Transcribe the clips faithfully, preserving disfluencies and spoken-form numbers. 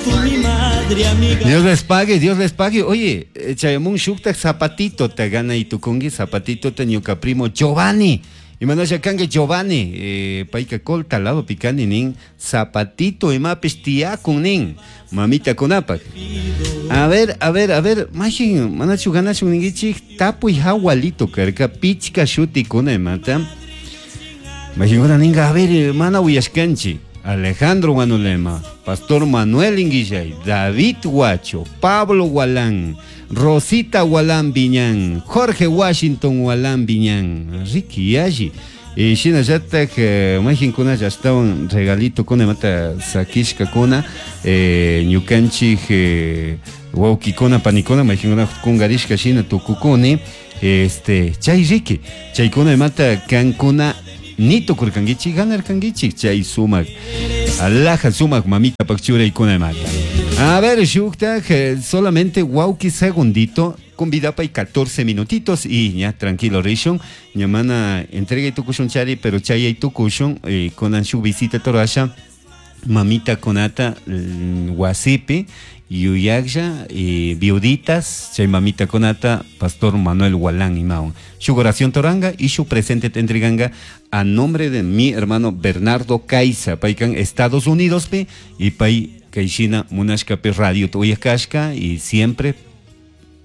tú mi madre amiga. Dios les pague, Dios les pague. Oye, chayamun shuktak zapatito te gana y tukungi zapatito te ñuka primo Giovanni. Imanasha kanki Giovanni, eh, payka colta lado picani nin zapatito imapish tiyakun nin mamita kunapak. A ver, a ver, a ver, majin, manachu ganachu ningichik tapuy hawalito karka pichka shuti kuna imata. Majin kuna ninga, a ver, mana uyashkanchi. Alejandro Guanolema, Pastor Manuel Inguillay, David Huacho, Pablo Gualán, Rosita Gualán Viñán, Jorge Washington Gualán Viñán, Ricky Yashi. Y shinallatak majin kuna ashtawan regalito kuna mata sakishka kuna eh, ñukanchik eh, wawkikuna panikuna majin kuna kungarishka shina tukukuni este chay Ricky chaykuna imata kankuna ni tukurkankichik ganarkankichik chay sumak alhaja sumak mamita pakchuraykuna imata. A ver, shuktak solamente wawki segundito convidapa y catorce minutitos y ya tranquilo rishun ñamana entrega y tukushun chari pero chay y tukushun eh, con shu visita torasha mamita konata wasipi yuyaklla y viuditas chay mamita konata Pastor Manuel Gualán imaun shu oración toranga y su presente te entreganga a nombre de mi hermano Bernardo Caiza paykan Estados Unidos pe y pay kaishina munashka pe radio tuyakashka y siempre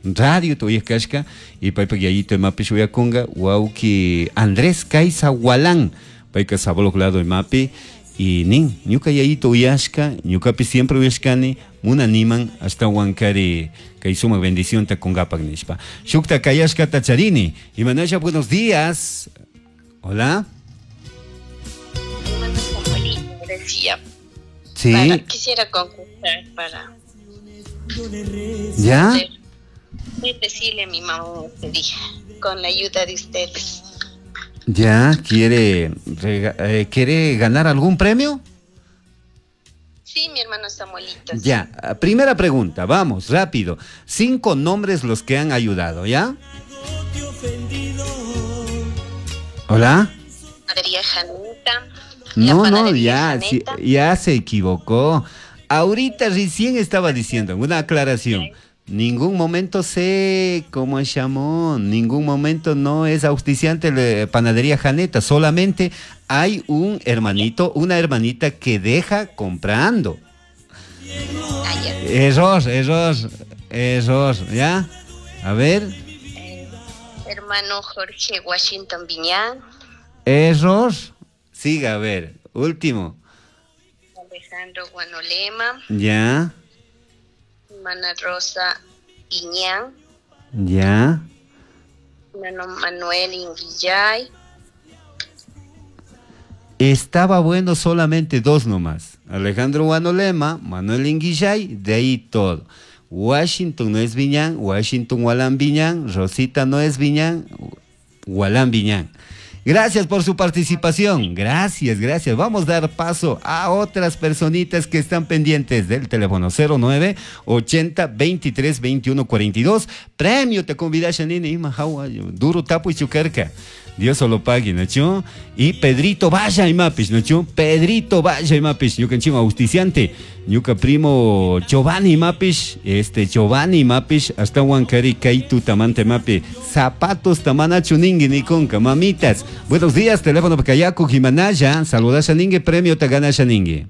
radio tuyakashka y paypak yayito imapi shuyakunga wawki Andrés Caiza Gualán payka sabolok lado imapi y nin ñuka yayito uyashka ñukapi siempre uyashkani munaniman hasta wankari kay sumak bendición ta kungapak nishpa shukta kayashka tacharini imanasha buenos días. Hola. Decía. Sí. Para, quisiera concursar para ¿Ya? Decirle a mi mamá este día, con la ayuda de ustedes. ¿Ya? ¿Quiere, rega, eh, ¿quiere ganar algún premio? Sí, mi hermano Samuelito. Ya, primera pregunta, vamos, rápido. Cinco nombres los que han ayudado, ¿ya? Hola. Panadería Janita. No, no, ya, sí, ya se equivocó. Ahorita recién estaba diciendo una aclaración. Ningún momento sé cómo se llamó, ningún momento no es auspiciante de Panadería Janeta, solamente hay un hermanito, una hermanita que deja comprando. Ah, ya. Error, error, error, ¿ya? A ver. Eh, hermano Jorge Washington Viñán. Error. Siga, a ver, último. Alejandro Guanolema. Ya. Hermana Rosa Iñán. Ya. Hermano Manuel Inguillay. Estaba bueno solamente dos nomás. Alejandro Guanolema, Manuel Inguillay, de ahí todo. Washington no es Viñán, Washington Gualán Viñán, Rosita no es Viñán, Gualán Viñán. Gracias por su participación. Gracias, gracias. Vamos a dar paso a otras personitas que están pendientes del teléfono cero nueve ochenta veintitrés veintiuno cuarenta y dos. Premio te convida Shanine Ima Jawa, duro tapo y chucarca. Dios solo pague, ¿no? Y Pedrito vaya y mapis, ¿no? Pedrito vaya y mapis, ñuka chima auspiciante, ñuka primo Giovanni mapis, este Giovanni mapis, hasta Huancari kaitu tamante mapi, zapatos tamanachu ningui ni conca, mamitas. Buenos días, teléfono Pacayaco, Jimanaya, saluda Shaningue, premio te gana Shaningue.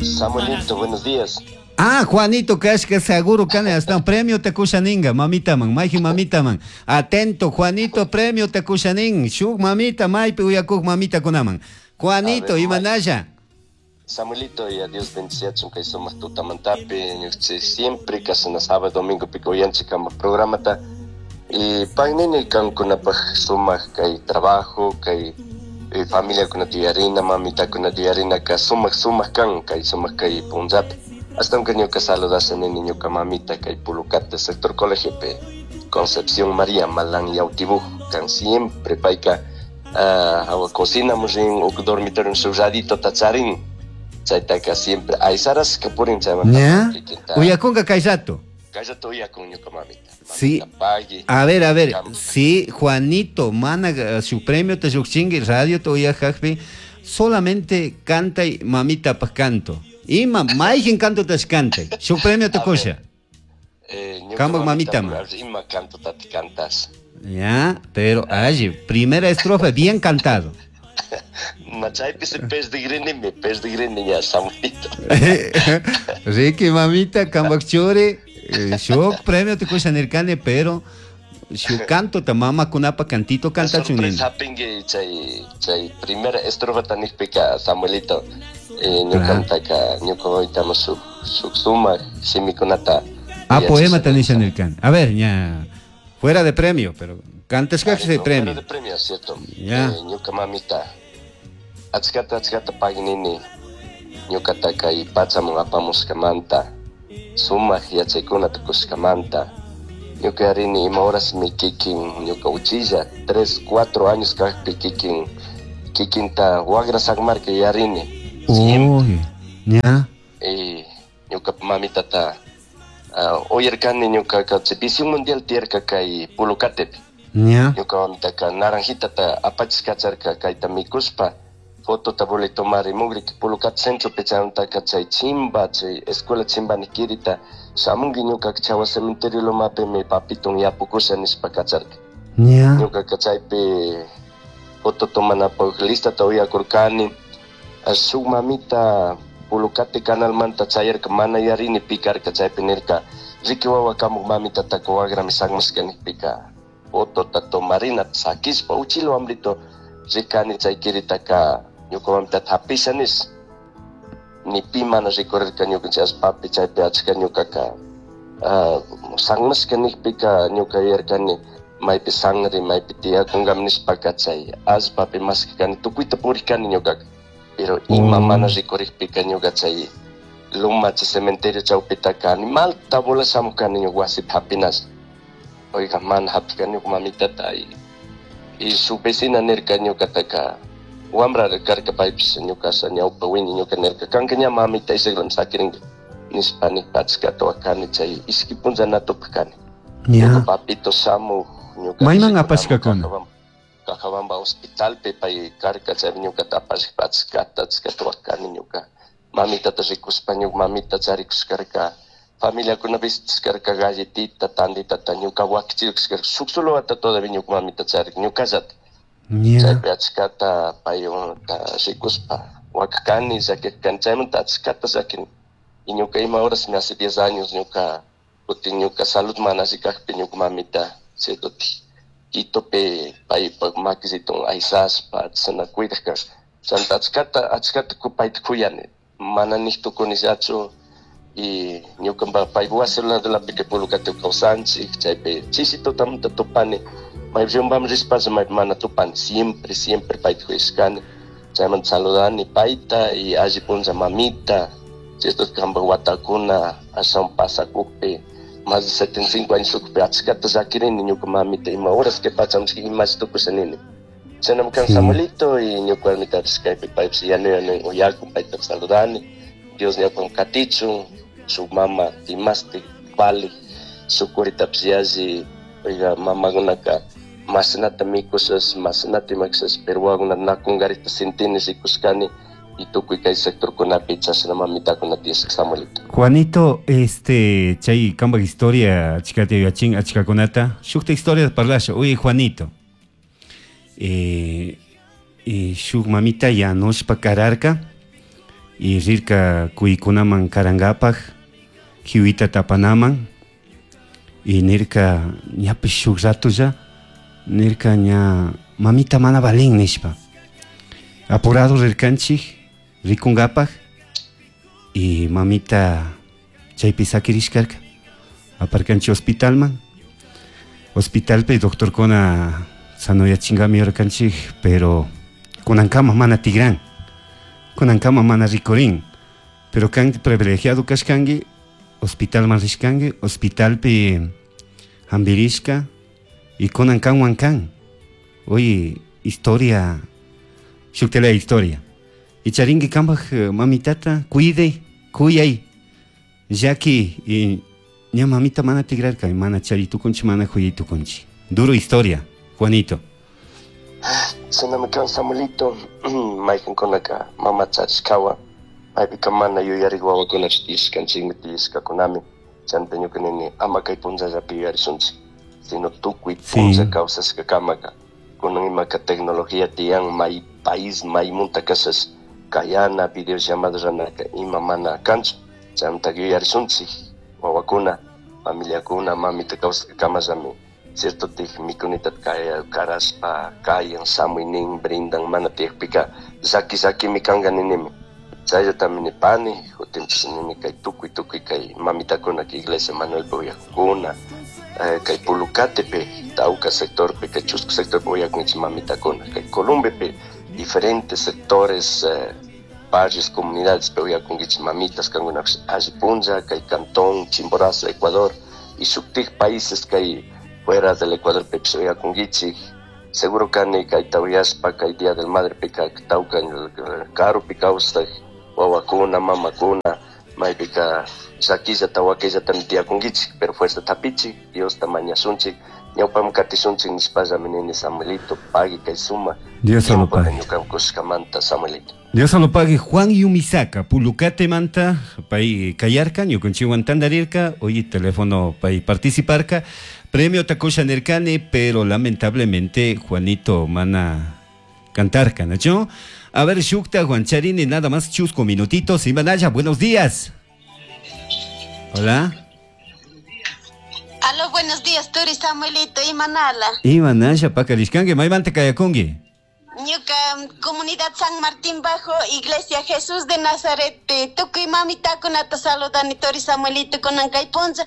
Samuelito, buenos días. Ah, Juanito Kashka, seguro que hasta un premio te kushaninga, mamita man, maiji mamita man. Atento, Juanito, premio te kushanin. Shuk mamita, maipi uyakuk mamita kunaman. Juanito, imanaya. Samuelito, y a Dios bendiciachun kay sumaq tutamantapi, siempre kasana sábado, domingo pico uyanchik kama programata. Y pagnini kankunapaj sumaq kay trabajo, kay familia kuna tiyarina, mamita kuna tiyarina, ka sumaq sumaq kan, kay sumaq kay punllapi. Hasta un ñuka saludase nini ñuka mamita kay Pulucate, sector colegio pe Concepción María Malán Yautibuj, kan siempre payka uh, cocina murin uk dormitorio su radito tacharin, chaytaka siempre aysaras kapurin chayman. ¿Ya? Uyakunka kayrato. Kayrato uyakun ñuka mamita. Mamita sí. Pagui. A ver, a ver, sí, Juanito, mana su premio te yuqchinki radio te uyajajpi, solamente canta y mamita pa canto. Ima mayqin cantotash cantay. Shuk premio tukusha. Eh, Kambaj mamita ma. Ima cantotati cantas. Ya, pero alli, primera estrofa bien cantado. Machaypi se perdigrini, perdigrini ya, Samuelito. Ricky mamita, kambaj churi, eh, shuk premio tukusha nirkani, pero shuk cantota mama kunapa cantito cantachun nini. Sorpresa hapingi chay chay primera estrofa tanikpika Samuelito. Eh, ñukantaka ñuka mamita shuk shuk sumak shimikunata. Ah, poema tanisha nirkani. A ver, ya, fuera de premio, pero cantas de Fuera premio. de premio, cierto. Ya. Eh, ñuka mamita. Achkata achkata paginini. Ñukataka y pachamun apamushkamanta. Sumak yachaykunata kushkamanta. Ñuka yarini ima horas mi kikin ñuka uchilla tres, cuatro años kakpi kikin kikinta wagra sakmarka yarini. Siempre. Uy, ya. Y ñuka mamitata uh, uyarkani ñukaka chay visión mundial tiyarka kay Pulucatepi. Ya. Ñuka mamitaka naranjitata apachishkacharka kayta mikuspa fotota voli tomar mugri Pulucate centropi chaymantaka chay chimba chay escuela chimba nikirita shamunki ñukaka chawa cementerio lomapimi papiton yapukusha nishpa kacharka. Ya. Ñukaka chaypi foto tomanapaj listata uyakurkani. Shuk mamita Pulucate canalmanta chayarka mana yarini pikarka chaypi nirka riki wawa kamuk mamitataka wagrami sakmashka nikpika fotota tomarinata sakishpa uchila wambrito rikani chay kiritaka ñuka mamitata hapisha nish ni pi mana rikurirka ñukanchik allpapi chaypi achka ñukaka uh, sakmashka nikpika ñuka yuyarkani maypi sangre maypi tiyakunkami nishpaka chay allpapi mashkakani tukuyta purikani ñukaka. Pero ima Mm. mana rikurikpika ñuka chay loma chay cementerio chawpitaka animalta bola shamukani ñuka wasipi hapinash. Oiga mana hapikani ñuka mamitata y, y su vecina nirka ñukataka wambrara karka paypish ñuka asha ñawpa wiña ñuka nirka kanka ña mamita ishaklami sakirinki nishpa nikpa achkata wakani chay ishki punlla na tupakani. Ñuka Ya. papito shamuk ñuka Mayman rikunamuk apashkakuna? Cajabamba, Cajabamba hospitalpi pay karka chay ñukata apashpa achkata achkata wakani ñuka mamitata rikuspa ñuka mamita charikushkarka familiakuna visitishkarka galletita tanditata ñuka wakichikushkarka shuk solo wata todavía ñuka mamita charik ñukallata. Ya. Chaypi achkata payunta rikuspa wakakani llakikani chaymanta achkata llakini. Y ñuka ima horas me hace diez años ñuka kutin ñuka salud mana alli kakpi ñuka mamita cierto Quitopi paypak makisiton aysashpa chashna cuidak karka. Chanta achkata achkata payta kuyani mana nik tukunillachu y ñuka paypa wasi ladolapi kay Pulucate kawsanchik chaypi chishi tutamanta tupani maypi maypi rishpasha maypi mana tupani siempre siempre payta kuyashkani chaymanta saludani payta y alli punlla mamita cierto kanpak watakuna ashawan pasakukpi más de setenta y cinco años ukpi achkata llakirini ñuka mamita ima horas que pachamishka imashi tukusha nini. Chaynami kan Sí. Samuelito y ñuka warmitapish kaypi paypish yanu yanu uyakun paytapish saludani Dios ñawpan katichun shuk mama imashtik vale shuk kuritapish yalli oiga mamakunaka mashnata mikushash mashnata imakushash pero wawakunata nakunkarikta sintini rikushkani y tukuy kay sectorkunapi chashna mamitakuna tiyashka Samuelito. Juanito, este, chay kambaj historia achkata yuyachin achkakunata shukta historia parlasha. Oye, Juanito, eh, eh, shuk mamita yanushpa kararka y rirka kuykunaman karankapak hiwita tapanaman y nirka ñapish shuk ratolla nirka ña mamita mana valin nishpa apurado rirkanchik rikunkapak y mamita chaypi sakirishkarka aparkanchik hospitalman hospitalpi doctorkuna sanoyachinkami yurkanchik pero kunankama mana tigran kunankama mana rikurin pero kan privilegiado kashkanki hospitalman rishkanki hospitalpi hampirishka y kunan kanwan kan. Oye, historia shuktela historia y charinki kanpak mamitata cuide kuyay llaki y ña mamita mana tigrarka mana chari tukunchik mana kuyay tukunchik. Duro historia, Juanito. Shinami kan Samuelito, mayqinkunaka mama charishkawan Maypika mana yuyarik wawakunachu tiyashkanchikmi tiyashkakunami. Chanta ñuka nini ama kay punllallapi yuyarishunchik, sino tukuy punlla kawsashkakamaka. Kunan imaka tecnología tiyan may país maymunta kashash kayana videollamada ranaka ima mana kanchu. Chanta yuyarishunchik wawakuna, familiakuna, mamita kawsashkakamallami cierto tij mikunita kaya karashpa kayan samuynin brindan mana tiyakpika llaki llakimi kanka ninimi. Chayllatamini nipani, kutinpish nini kay tukuy tukuy kay mamitakuna kay iglesia Manuelpi uyakuna, eh, kay Pulucatepi, tawka sectorpi, kay chusku sectorpi uyakunchik mamitakuna, kay Columbepi diferentes sectores, eh, barrios, comunidades pe uyakunkichik mamitas kankunapish alli punlla, kay cantón Chimborazo, Ecuador, y shuktik países kay fuera del Ecuador pipish uyakunkichik. Seguro kani kayta uyashpa kay Día del Madre pika tawka karupi kawsaj wawakuna, mamakuna, maypika llakillata wakillatami tiyakunkichik, pero fuerza tapichik, Diosta mañashunchik, ñawpaman katishunchik nishpallami nini Samuelito, pagui kay suma Dios solo pague. ñuka kushkamanta Samuelito. Dios solo pague. Juan Yumisaka, Pulucate manta, pay kayarka, ñukanchikwan tandarirka, hoy teléfono pay participarka. Premio takusha nirkani, pero lamentablemente Juanito mana cantarka, ¿no? A ver, Shukta, Juan Charini, nada más chusco minutitos. Imanaya, buenos días. Hola. Aló, buenos días, Turi Samuelito, Imanala. Imanaya, pakarishkanki, maymanta kayakunki. Ñuka comunidad San Martín Bajo, Iglesia Jesús de Nazaret, tukuy mamitakunata saludani Turi Samuelito kunan kay punlla,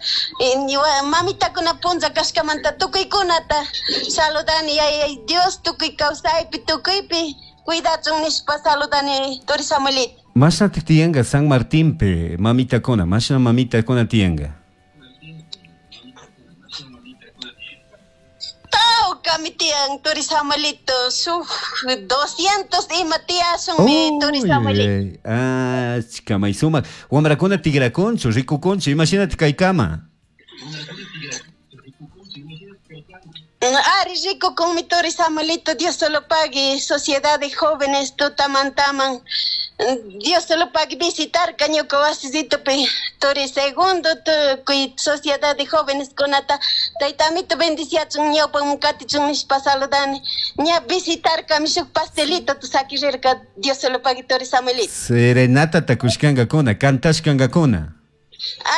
mamitakuna punlla kashkamanta tukuykunata saludani, ay Dios tukuy kawsaypi tukuypi cuidachun nishpa saludani Turi Samuelito. Mashna tiyanka San Martín pe mamitakuna, mashna mamitakuna tiyanka. Tawkami tiyan Turi Samuelito, suk doscientos ima tiyashunmi Turi Samuelito. Ah, chica maysumak. Wamrakuna tigrakunchu, rikukunchu, imashinati kaykama. Ari rikukunmi Turi Samuelito, Dios solo pague, sociedad de jóvenes tutamantaman. Dios solo pague visitar ñuka wasisito pe Turi segundo tukuy sociedad de jóvenes kunata taytamito bendiciachun ñawpan katichun nishpa saludani. Ña visitar kami shuk pastelito tu sakirirka Dios solo pague Turi Samuelito. Serenata takushkankakuna, kantashkankakuna.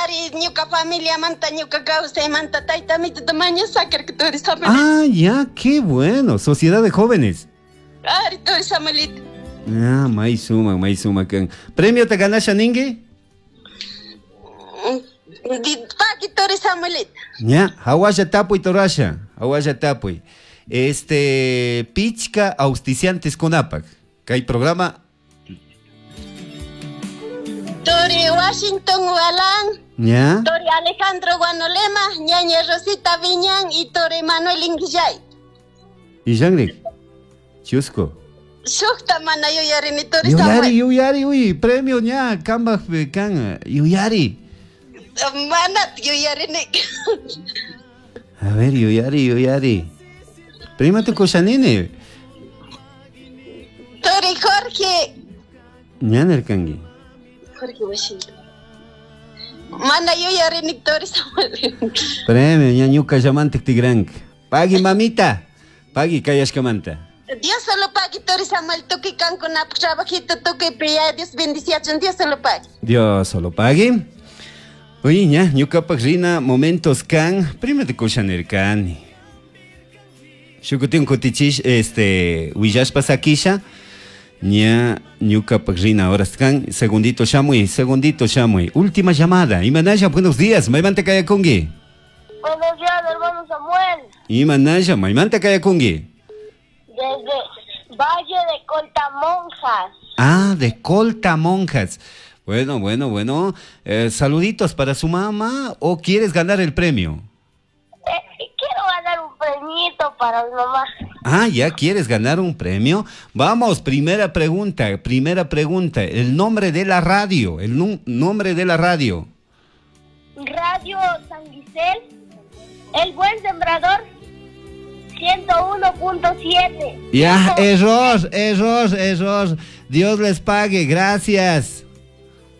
Ari ñuka familia manta ñuka kawsaymanta taytamito tamaño sakirka Turi Samuelito. Ah, ya, qué bueno, sociedad de jóvenes. Ari Turi Samuelito. Ah, may suma, may suma kan. Premio te ganasha ningi? Paqui Turi Samuelito. Ya, hawasha tapuy torasha, hawasha tapuy. Este, pichka auspiciantes kunapak. Kay programa Tori Washington Walán, ¿Ya? Tori Alejandro Guanolema, Ñaña Rosita Viñán y Tori Manuel Inguillay. ¿Y Yangrik? Chusco. Shukta mana yuyarini Tori Yuyari, Samuel. yuyari, uy, premio ña, kamba kan, yuyari. Mana yuyarini. A ver, yuyari, yuyari. Prima tu kushanini. Tori Jorge. Ña nerkangi. Jorge Washington. Mana yuyarini Tori Samuel. Premio ña ñuka llamantik tigrank. Pagui mamita. Pagui kayashkamanta. Dios solo pague Tori Samuel, tukuy kankunapaq trabajito tukuy piya, Dios bendiciachun, Dios solo pague. Dios solo pague. Oye, ña, ñukapaq rina momentos kan, prima te kushanirkani. Shukutin kutichish, este, willashpa sakisha. Ña, ñukapaq rina horas kan, segundito shamuy, segundito shamuy. Última llamada. Imanaya, buenos días, maymanta kayakungi. Buenos días, hermano Samuel. Imanaya, maymanta kayakungi. Desde Valle de Coltamonjas. Ah, de Coltamonjas. Bueno, bueno, bueno. Eh, saluditos para su mamá, ¿o quieres ganar el premio? Eh, quiero ganar un premito para mi mamá. Ah, ya quieres ganar un premio. Vamos, primera pregunta, primera pregunta. El nombre de la radio, el nu- nombre de la radio. Radio San Gisel, El Buen Sembrador, ciento uno punto siete. Ya, error, error, error. Dios les pague, gracias.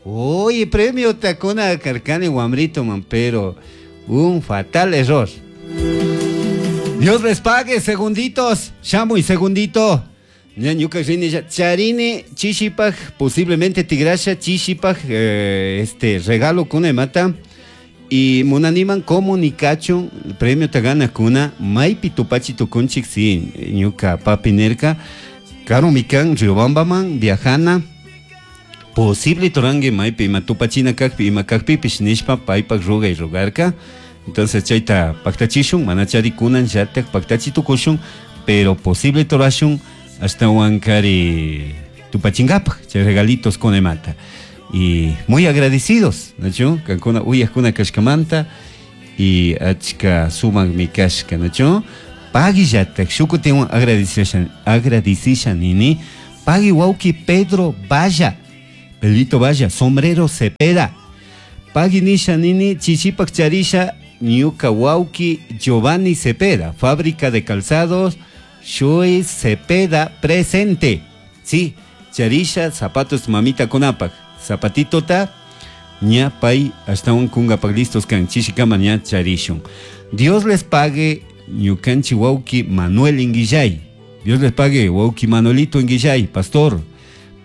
Oye, premio takuna karkani wamrito man, pero un fatal error. Dios les pague, segunditos. Shamu y segundito. Ñañuka rini charini chishipaj, posiblemente tigrasha chishipaj, eh, este regalo kuna mata. Y munaniman comunicachun, premio tagana kuna, maipi tupachi tukunchik, si, ñuka papi nerka, karo mikan, Riobambaman, viajana, posible torangue maipi ima tupachina kakpi, ima kakpipish nishpa, paypak ruga y rogarka. Entonces chayta paktachishun, manachari kunan yatak paktachi tukushun, pero posible torashun, hasta huancari tupachingapaj, chay regalitos con mata. Y muy agradecidos, ¿no? Cancuna uyajkuna kashkamanta y achka sumak mi kashka, ¿no? Pagui yatak, shukutinwan agradecisa, agradecisa nini, pagui wauki Pedro Valla, Pedrito Valla, sombrero Cepeda, pagui nisha nini, chichipak charisha, ñuka wauki Giovanni Cepeda, fábrica de calzados, Shui Cepeda presente. Sí, charisha, zapatos mamita konapak. Zapatito ta, ña pay, hasta un kungapak listos kan, chishikama ña charishun. Dios les pague, ñukanchi wauki Manuel Inguillay. Dios les pague, wauki Manuelito Inguillay, pastor.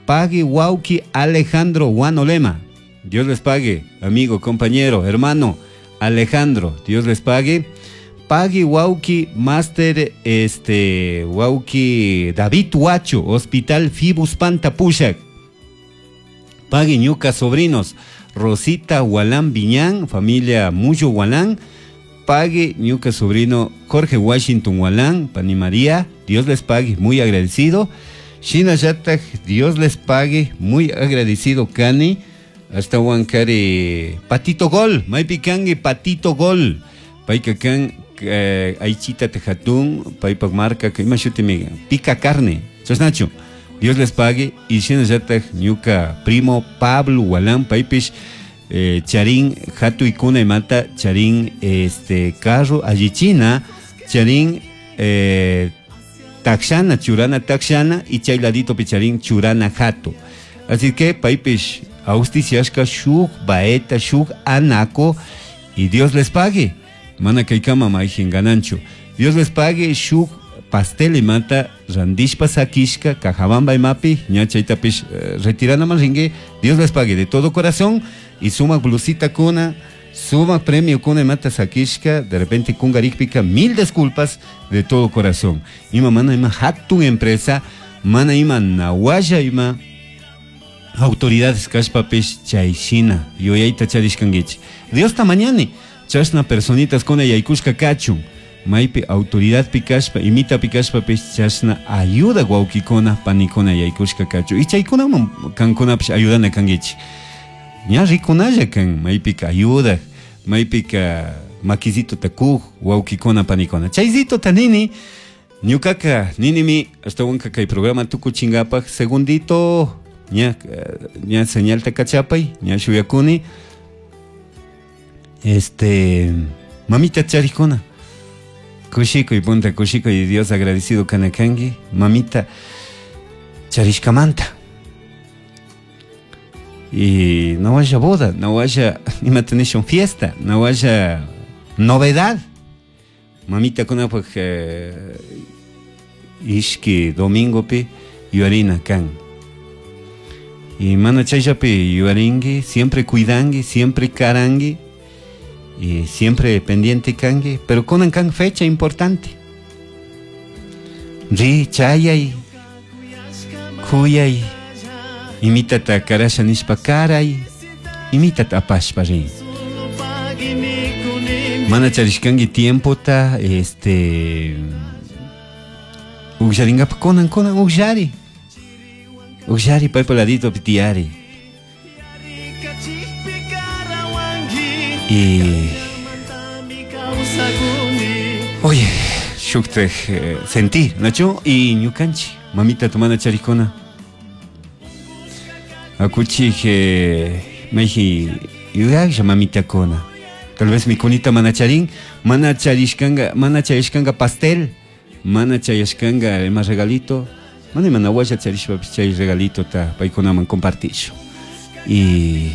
Pague wauki Alejandro Guanolema. Dios les pague, amigo, compañero, hermano Alejandro. Dios les pague. Pague wauki Master, este, wauki David Huacho, Hospital Fibus Panta Pushak. Pague ñuca sobrinos, Rosita Gualán Viñán, familia Muyo Gualán. Pague ñuca sobrino Jorge Washington Gualán, Pani María, Dios les pague, muy agradecido. Shina Yataj, Dios les pague, muy agradecido Cani. Hasta Huancari, Patito Gol, Maipicangue, Patito Gol. Paicacan, eh, Aichita Tejatún, Paipac Marca, que pica carne. Chosnacho. Dios les pague. Y Shina Yataj, ñuca primo Pablo Gualán, Paipish, eh, Charín, Jatu y Cuna y Mata, Charín, este, carro, Allichina, Charín, eh, Taxana, Churana, Taxana, y Chayladito Picharín, Churana, Jato. Así que, Paipish, Austiciashka, Shuk, Baeta, Shuk, Anaco, y Dios les pague. Mana Kaikama, Maijin Ganancho. Dios les pague, Shuk, pastel y mata, randishpa sakishka, cajabamba y mapi, ñacha y tapish, eh, retirana maringue, Dios les pague de todo corazón, y suma blusita kuna, suma premio kuna y mata sakishka, de repente kungarikpika, mil disculpas de todo corazón. Ima mana ima hatun empresa, mana ima nawaya ima autoridades kashpapish chayshina, yuyayta charishkanguichi. Dios ta mañani, chashna personitas kuna yaykushka kachun. Maipi autoridad pikashpa, imita pikashpa pish chashna ayuda guauquicona, panicona yaykushka kachu. Y chaykuna kankuna pish ayudana kanguichi. Ña rikunalla kan, maipika ayuda, maipika makizito takuj, guauquicona, panicona. Chayzito tanini, ñukaka, ninimi, hasta wanka kay programa tukuchingapaj, segundito, ña, ña señal takachapay, ña shuyakuni. Este, mamita charikona. Kushiko y punta kushiko y Dios agradecido kanakangi, mamita charishkamanta. Y no haya boda, no haya imatenation fiesta, no haya novedad. Mamita kuna pues eh, ishki domingo pi yuarina kan. Y mana chayllapi yuaringi, siempre cuidangi, siempre karangi. Y siempre pendiente kangi, pero con kan fecha importante. Ri chayay, kuyay, imitata karasha nishpa karay, imitata apashpa ri. Mana charishkangi tiempo ta, este, ukllaringapa konan konan ukllari. Ukllari paypa ladito pitiari. Y oye, shuktaj eh, sentí, Nacho y ñukanchi, mamita tumana charikona. Akuchi eh, meji yuyaklla mamita kona. Tal vez mi kunita manacharín, mana charishkanga, mana charishkanga pastel, mana charishkanga más regalito, mana mana washa charishpa chay regalito ta paykunaman compartisho. Y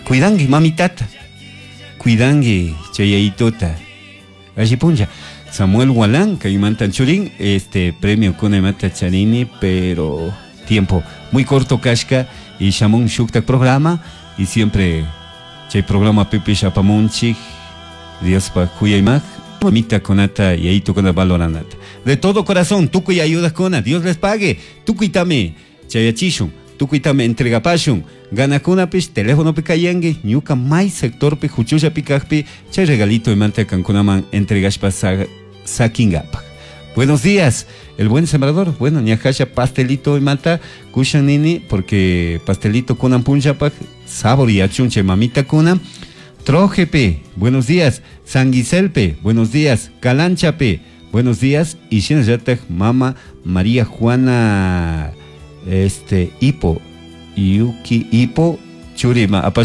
cuidangi mamitata, cuidangi chayayituta. Alli punlla. Samuel Walán, kaymantan churin, este premio kuna charini, pero tiempo muy corto kashka y shamun shuktak programa y siempre chay programa pipish apamunchik Diospa kuyaymaq mamita kunata yayito kuna valoranata. De todo corazón, tukuy ayuda kuna, Dios les pague, tukuytami chayachishun, tukuytami entregapashun, ganakunapish teléfonopi kayanki, ñuka may sectorpi huchullapi kajpi, chay regalito imanta kankunaman entregashpa sa sakingapak. Buenos días, el buen sembrador. Bueno, ñajasha pastelito imanta kushan nini, porque pastelito kunan punllapak, sabor y achunche mamita kuna. Trojepe, buenos días. Sanguiselpe, buenos días. Calanchape, buenos días. Y shinallatak mama María Juana este Ipo, Yuki Ipo, Churima, apashpa